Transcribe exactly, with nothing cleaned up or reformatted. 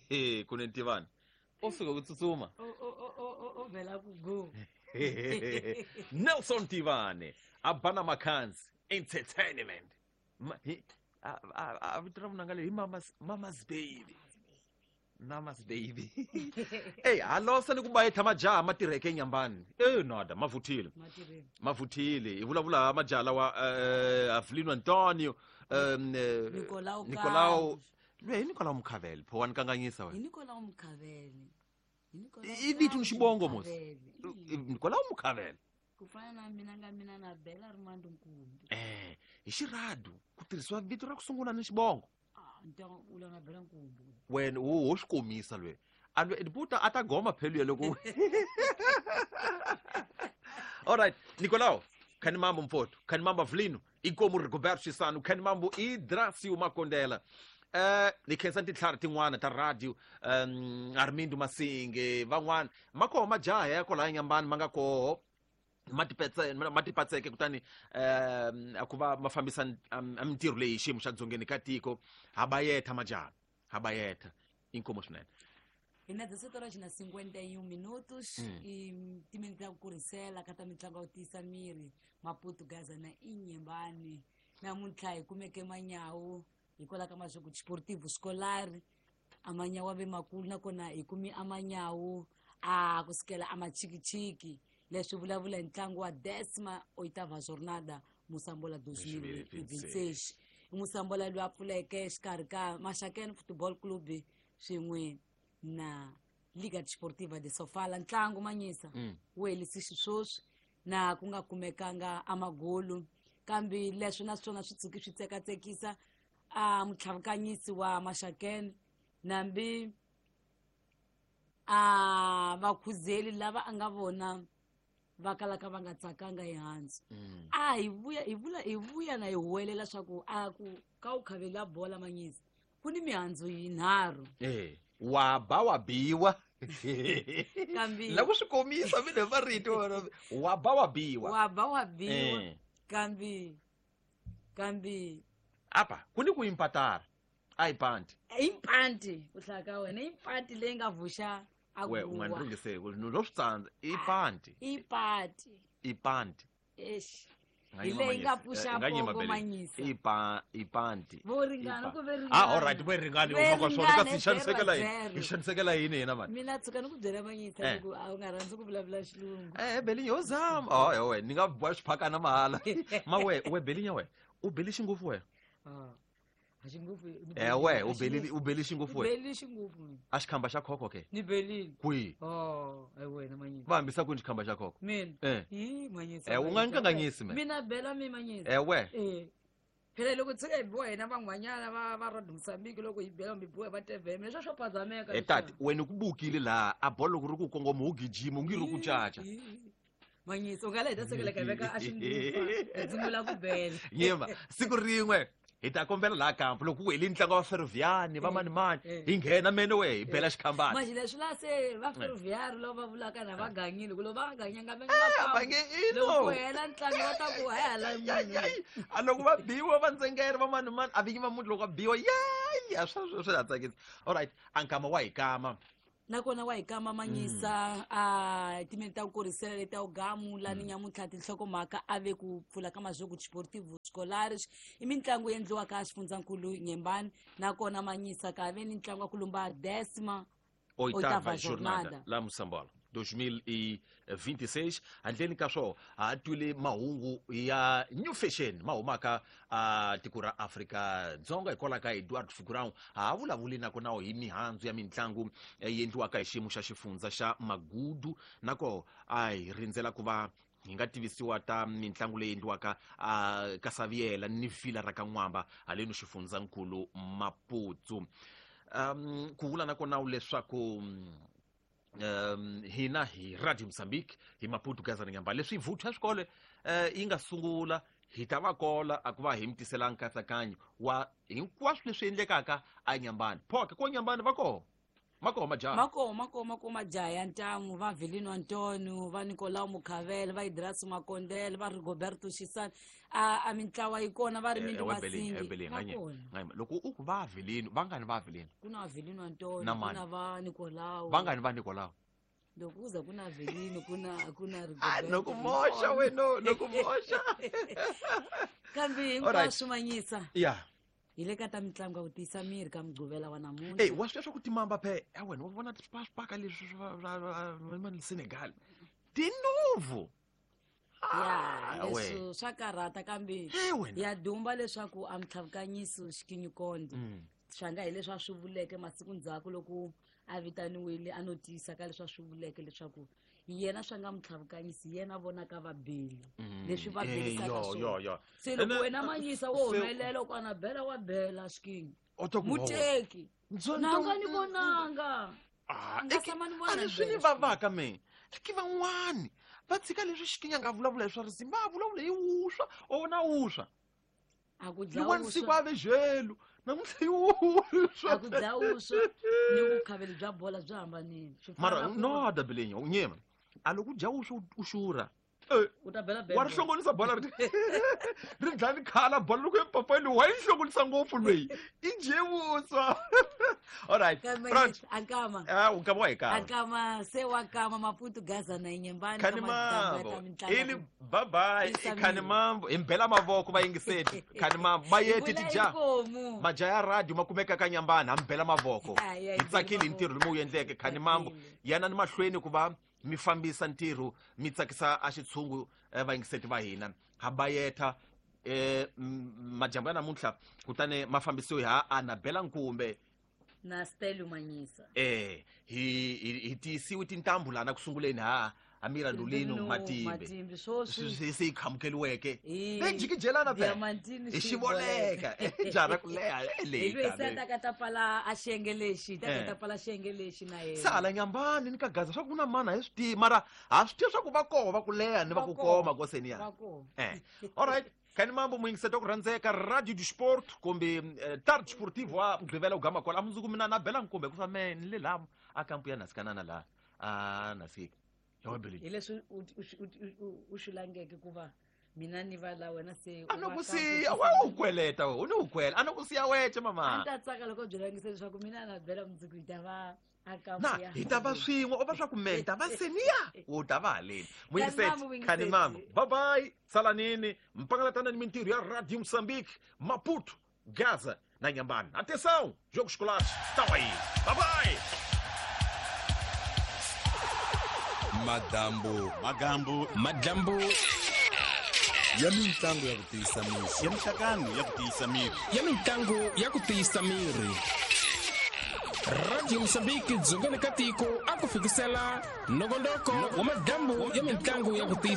Hey, kunene Tivani o suka ku tsutsuma. O o o o o vela ku go. Nelson Tivani a bana Makanzi Entertainment. Ma, hi, a a a vito ra munanga leyi hi Mama's Mama's Baby. Mama's Baby. Ey, halosa ni ku bayetha majaha ma tirheke eNyambani. Eh nada, mavuthile. Matirheni. Mavuthile. Hi vulavula majaha lawa eh Avelino Antonio, um eh, Nicolau Nicolau Carlos. Lwe hi Nicolau Mukhavele, pho wa ni kanganyisa Hi wena. Nicolau Mukhavele. Hi Nicolau I vito ni Carlos xibongo mos. Mukhavele. I. Nicolau Mukhavele. Ku fana na mina nga mina na Bela Rimando Nkumbi. Eh, hi xiradu ku tirhisiwa vito ra ku sungula ni xibongo. Ah, ntango u la na Bela Nkumbi. Wena wo ho xi komisa lwe. A lwe buta a ta goma phelu ya loko. All right, Nicolau, Khanimambo mfowethu, Khanimambo Avelino, inkomu Rigoberto Chisano, Khanimambo Idracio Makondela. Eh, ni khensa tintlhari tin'wana ta radio, um Armindo Masinge, van'wana ma koho majaha ya kwalaya Nyambani ma nga koho ma tipetse ma tipatseke kutani um a ku va ma fambisa a mintirho leyi hi xiyimo xa dzongeni ka tiko. Ha bayetha majaha, ha bayetha inkomo swinene. Hi na dezesete horas na cinquenta e um minutos Mm. i timinete ta ku kurisela ka ta mitlangu ya ku tiyisa miri Maputo Gaza na Inhambane. Namuntlha hi kumeke manyawu hikwalaho ka masweko Desportivo Escolar a manyawu a ve makulu nakona hi kumi a manyawu a kusukela a machikichiki leswi vulavula hi ntlangu wa décima oitava jornada Moçambola dois mil e vinte e seis. I Moçambola loyi a pfuleke exikarhi ka Maxakeni Football Club swin'we na Liga Desportiva de Sofala. Ntlangu manyisa Mm. wu helisi xisweswi na ku nga kumekanga a magolu, kambe leswi na swona swi tshuki swi tsekatsekisa a mutlhavukanyisi wa Maxakeni nambi a vakhuzeli lava a nga vona va kalaka va nga tsakanga hi handzu. Mm. A hi vuya hi vula hi vuya na hi huwelela swa ku a ku ka u khavela bola manyisa ku ni mihandzu yinharhu. Eh, wa ba wa biwa. Kambe La ku swi komisa mina hi marito wena. Wa ba wa biwa. Wa ba wa biwa. Eh. Kambe kambe Apa ku ni ku impatara. A hi panti. I mpanti ku hlaya ka wena i mpanti leyi nga vuxa a We u nga ni guwa. ringiseli ku no swi tsandza i panti. I panti. I panti. Eish. Nga Hi yima leyi nga manyisa. pfuxa Eh, nga yima pongo Bele. manyisa. I pa i panti. Vo ringana I ku ve Ah, ringana. all right, vo ringana Ve huma ka swona kasi hi ringana, xanisekela zero, yini? zero. Hi xanisekela yini hina mani? Mina tshuka ni ku byela manyisa Eh. ni ku a u nga rhandzi ku vulavula xilungu. Eh, Belinya ho zama. Oh, eh, we ni nga boha xiphakana mahala. Ma we, we Belinya we. U beli xingopfu wena. Ah. A xingopfu. Ni Eh, we, belile, u a belile, xingopfu. u beli xingopfu Ni wena. belile xingopfu mina. A xikhamba xa khokho ke. Ni belile. Kwihi? Oh, ai wena manyisa. Va hambisa kwini xikhamba xa khokho? Mina. Eh. Hi manyisa. Eh, u nga ni manyisa. kanganyisi me. Mina bela mi manyisa. Eh, we. Eh. Phela loko tshuka hi biwa hina van'wanyana va va ra Mozambique loko hi bela mi biwa va T V M leswo swo phazameka Eh, tati, wena ku bukile laha a bolo loko ri ku kongoma u gijima u nge ri ku caca. Manyisa u nga la hi ta sekela ka veka a xingufa hi sungula ku bela. Yima, siku rin'we hi ta kombela laha kampo loko ku hele ntlangu wa Ferroviani va mani mani Eh. hi nghena mene we hi bela xikhambana. Manje leswi la se va Ferroviari lava va vulaka na va ganyile ku loko va nga ganyanga va nge Eh, va va nge i loko no. ku hela ntlangu va ta ku hala munhu. A loko va biwa va ndzengere va mani mani a vinyi va muti loko va biwa ya swa swi ha tsakisa. All right, a nkama wa hi kama. Nakona wa hi kama manyisa a timeni ta ku kurisela leti ta ku gamula ni nyamuntlha tinhlokomhaka a ve ku pfula ka mazweko Desportivo Escolares i mitlangu endliwaka xifundzankulu Nyembani nakona manyisa ka ve ni ntlangu wa ku lumba décima Oitava oitava jornada jornada. la Moçambola dois mil e vinte e seis handleni ka swo ha twile mahungu ya new fashion ma humaka a tiko ra Afrika Dzonga hikwalaho ka Eduardo Fugurão ha vulavuli nakona hi mihandzu ya mitlangu yi endliwaka hi xiyimo xa xifundza xa Magudu nako a hi rindzela ku va hi nga tivisiwa ta mitlangu leyi endliwaka a ka Saviela ni Vila ra ka N'wamba haleni xifundzankulu Maputo. Um ku vula nakona leswaku um hina hi Radio Mozambique hi Maputo Gaza na Nyamba leswi vuthu ya swikolo eh yi nga sungula hi ta va kola a ku va hi mi tisela nkatsakanyo wa hinkwaswo leswi endlekaka a Nyambani. Phoke ko Nyambani va koho. Ma koho majaha. Ma koho ma koho ma koho majaha ya ntamu, va Vilino Antonio, va Nicolau Mukhavele, va Idrasi Makondele, va Rigoberto Xisani. A a mintlawa yi kona, va ri Mindu Masingi va kona. Loko u ku va Vilino, va ngani va Vilino? Ku na Vilino Antonio, Na ku mani? na va Nicolau. Va ngani va Nicolau? Loko ku za ku na Vilino, ku na ku na Ah, Rigoberto. no ku moxa wena, no ku moxa. Kambe Alright. hinkwaswo manyisa Ya. hi le ka ta mitlangu ya ku tiyisa miri ka Mugqivela wa namuntlha. Ey, wa swi tiva swa ku timamba phe ya wena, wa vona swipaka leswi swa swa Senegal tinovu. Ya. Ah, we. Leswi swa karhata, kambe Hey, wena. ya dumba leswaku a mitlhavukanyiso xikinyukonde Mm. swa nga hi leswi a swi vuleke masiku ndzhaku loko a vitaniwile, a no tiyisa ka leswi a swi vuleke leswaku yena swa nga mutlhavukanyisi, yena a vonaka va beli leswi va Eh, belisaka yo, yo, swona. yo. Se loko Ene- wena manyisa wo se- humelela ku ana bela wa bela xikinyi O ta ku muteki Ndzo- nanga ndzo- ni vonanga. Ah, A nga eke- tshama ni vona a ni swi ni bela. vavaka me eke van'wani va tshika leswi xikinya nga vulavula hi swa risimu, va vulavula hi wuswa o na wuswa. A ku Liwani siku dlawuswa a ve jelu namuntlha i wuswa. A ku dlawuswa ni vukhaveli bya bola byi hambanile. Swi fana Mara na ku no dabelenyo nyema a loko u dya wuswa u xurha. Eh, u ta bela wa ri bela. hlongolisa bola, ri ri dlaya ni khala bola loko epapani wa yi hlongolisa ngopfu loyi i dye vuswa. Alright. Kambe Right. akama Ah, u nkama wa hi kama. Akama se wa kama Maputo, Gaza na Inyembani. Khani mambo ili bye bye. Tiyisa Khani miri. Mambo hi mbela mavoko vayingiseti. Khani mambo bayeti tija Inkomu. majaha ya radio ma kumeka ka Nyambani, ha mbela mavoko. Ai, ai, Hi tsakile hi mbela ntirho lowu wu endleke. Khani mambo Tsakile. yana ni mahlweni ku va mi fambisa ntirho, mi tsakisa a xitshungu, eh, vayingiseti va hina ha bayetha. eh m- majambu ya namuntlha kutani ma fambisiwe ha Anabela Nkumbe Na Stelio Manyisa. eh hi hi hi tiyisiwe tintambu lana ku sunguleni ha Amira Ndulino Matimbe. Matimbe swoswi. Swi se yi khamukeliweke Hi- leyi jikijelana phela. Diamantini. Hi xivoleka jara ku leha Hi leyi lweyi se a ta ka ta pfala a xiyenge lexi, ta ka Eh. ta pfala xiyenge lexi na yena. Se hala Nyambani ni ka Gaza swa ku na mana hi swi tivi, mara ha swi tivi swa ku va koho va ku leha ni va ku Va koho. koma koseni ya. Va koho. Eh alright, khani mambo muyingiseti ku rhandzeka Radio du Sport kumbe eh, Tard Sportivo wa Mugqivela u gama kwala. A mundzuku mina na Bela Nkumbe ku me ni le laha a kampu ya nasikanana laha a nasika ya webeleni. Hi leswi u- u- u- u- u swi langeke ku va mina ni va la wena se u A ni va ku ka siya ku we tisa u kweleta we u ni u kwela a ni ku siya wece A mama. ni ta tsaka loko byi langise leswaku mina na Bela mundzuku hi ta va a kampu Na ya hi ta va swin'we o va swa ku me hi ta va seniya u ta va haleni. Mambo, Muyingiseti, muyingiseti. khani mambo, bye bye, salanini mpangalatana ni mintirho ya Radio Moçambique, Maputo, Gaza na Inhambane. Atenção, jogos escolares estão aí. Bye bye. Madambu. Magambu. Madlambu. Ya mitlangu ya ku tiyisa miri. Ya mixakano ya ku tiyisa miri. Ya mitlangu ya ku tiyisa miri. Radio Mosambiki dzongeni ka tiko a ku fikisela nongonoko wa madlambu ya mitlangu ya ku tiyisa.